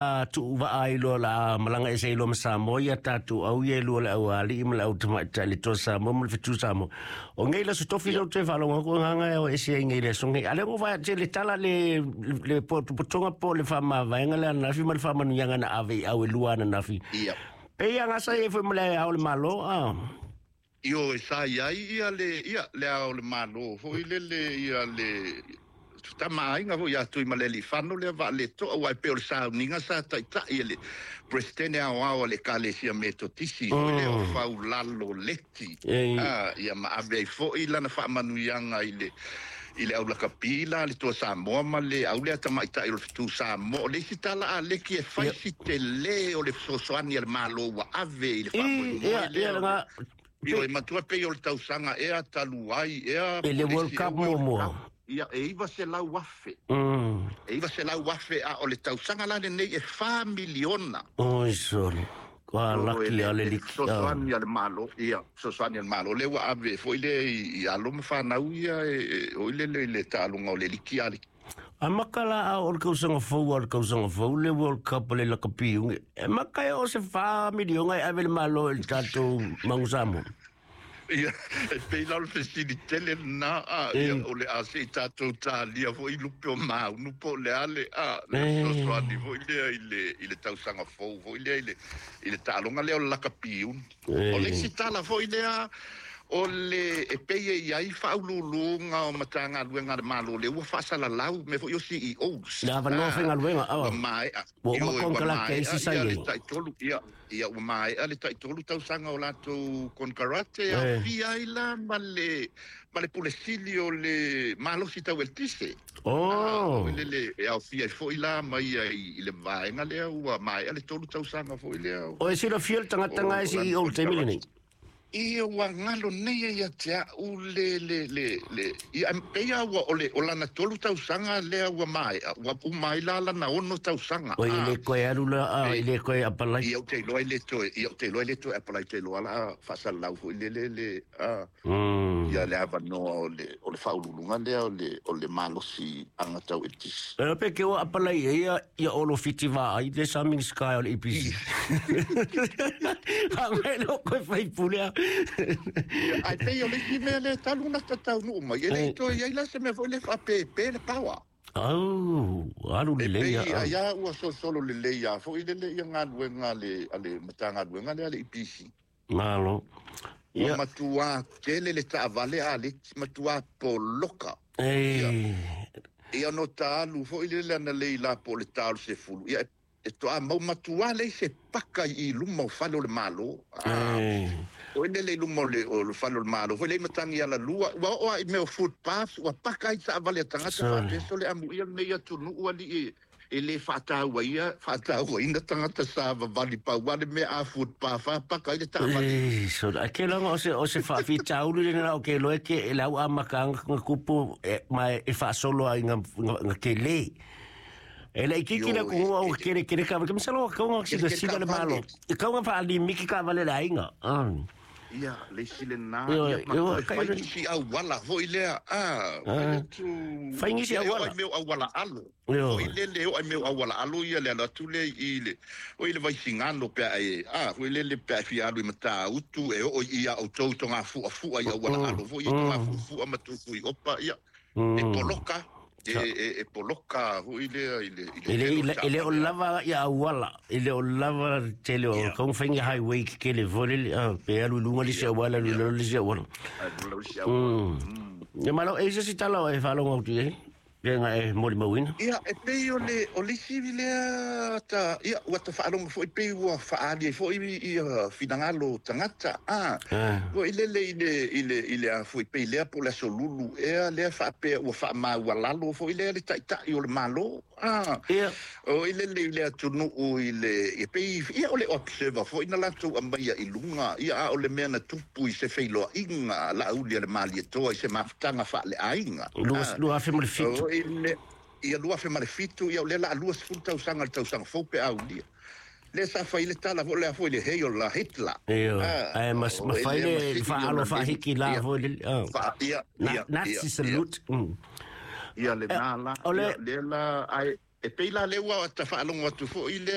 Tuuvaa ai loa la malaga ese ai loa ma Samoa ia tatou au ia e lua le aualii ma le au tamaitai le Toa Samoa ma le Fetu Samoa. O nei le aso tofi lea ou te faalogo atu agaga e o ese ai nei le aso nei. A lea ua vaai atu le tala le le potopotoga po o le faamavaega le ananafi ma le faamanuiaga na ave i au e lua ananafi. Ia. Pei a gasa ai foi ma le Ao o le Malo a. Ioe, sa i ai ia le, ia, le Ao o le Malo foi lele, ia le Tama Aiga foi ia Tuimalealiifano lea Vaaletoa, aua e pei o le sauniga sa taitai e le Peresetene Aoao a le Ekalesia Metotisi foi lea o Faulalo Leti, a, ia ma ave ai foi lana faamanuiaga i le, i le aulakapi la a le Toa Samoa ma le au lea tamaitai o le Fetu Samoa. O le isi tala a Leki e fai si telē o le fesoasoani a le Malo ua ave i le faamoemoe lea o le Ioe, matua pei o le tausaga ea talu ai ea I le World Cup muamua. Ia, e 900,000. E 900,000, a o le tausaga la lenei e $4 miliona. Oi sole. Kua laki a le Le liki. Fesoasoani a le Malo, ia, fesoasoani a le Malo lea ua ave foi lea i alo ma fanau ia e oi lele i le taaloga o le liki a le A maka la a o le kausaga fou a le kausaga fou le World Cup le lakapi ungi. E maka e o se 4 miliona e ave le Malo i le tatou Magu Samoa. Ia, e pei la o le fesili tele lena a, ia, o le a se i tatou talia foi lupe o maunu po o le a le a le fesoasoani foi lea i le tausaga fou foi lea i le taaloga lea o le lakapi uni. O le isi tala foi lea o le e pei e i ai faauluuluga o Matagaluega a le Malo lea ua faasalalau mea foi o CEOs. Le avanoa faigaluega. Ua maea. Ua uma Ioe, ua konekarate maea isi sa ia i le ai. 3, ia, ua maea le 3 tausaga o latou konekarate e aofia ai la ma le pule sili o le malosi tau eletise. Oh. Lele e aofia ai foi la ma ia i le vaega lea ua maea le 3 tausaga foi lea. O e silafia le tagata nga e CEO i le taimi lenei? Ia, ua galo nei e ia te au le ia pei a ua o le o lana 3 tausaga lea ua maea, ua uma ai la lana 6 tausaga. O i le koe alu la a i le koe apalai. Ia, ou te iloa i le toe, ia, ou te iloa i le toe apalai, te iloa la faasalalau foi le a ia le avanoa o le faauluuluga lea o le malosi aga tau eletisi. E pe ke o apalai e ia ia olo fiti va ai le sa Minisita o le EPC. Ha ngai lo koe fai pule a. Ai pei o le isi mea lea talu na tataunuu mai e le i toe i ai la se mea foi le faapepe le power. Au, alu E lelei pei a. ai a ua solosolo lelei a foi lele ia galuega a le Matagaluega lea a le EPC. Malo. Ua matuā tele le taavale a le matuā poloka. Ia no ta alu foi lele ana lei la po o le ta o le 10. Ia e toa mau matuā lei se paka i luma o fale o le Malo. O lele i luma o le fale o le Malo foi lei matagi ala lua. Ua oo a i mea o footpaths, ua paka ai taavale a tagata faapea le amuia lenei atunuu alii e le faataua ia faatauaina tagata sa vavali pau le mea a footpath a paka ai le taavale. So a ke longa o se faafitauli lena o ke loe ke e lau amataga nga kupu e, ma e faasolo ai nga kele. E le ikiki le kuhua o kele kele ka ke misalo ka nga sila sila le malo. E ka nga faalimiki ka vale le aiga. Ia, le isi lena, Io, ia, ma io, toe fai nisi auala foi lea, a, atu Fai nisi ia, e oo auala. ai mea o auala alo. Foi lele, e oo ai mea o auala alo ia le alu atu lea i le, oi le Vaisigano pe a e, a, foi lele pe a e fia alu i Matautu, e oo i ia outou togafuafua i auala alo foi, i togafuafua ma Tufuiopa, ia, e poloka, e poloka foi lea i le E le tele o e le o taavale. lava ia auala, e le o lava tele o ka fai highway ke kele fole le pe alu lunga le se auala alu lalo le se auala. Alu lalo se auala. Ia malo e se tala o e faalogo atu ai. Pe nga e moli mauina. Ia, e pei o le isi lea ta, ia, ua ta faalogo foi pei ua faaali ai foi ia finagalo tagata. Ah, foi lele i le a foi pei lea po o le aso Lulu ea lea faapea ua faamaualalo foi lea le taitai o le Malo. Ah, o i lele i le atunuu i le, ia pei, ia o le Observer foi na latou aumaia i luga, ia a o le mea na tupu i se feiloaiga Laauli a le Malietoa i se mafutaga faaleaiga. 2007. O i le, ia 2007, ia o lea la a 20 tausaga le tausaga fou pe aulia. Lea sa fai le tala foi lea foi le Heil la Hitler. Io. Ai mas ma o fai le le masili faalo ona faahiki la foi le. Fa, ia, ia, Nazi ia, salute. Ia le nā la, O le ia, lea la, ai, e pei la lea ua ta faalogo atu foi lea.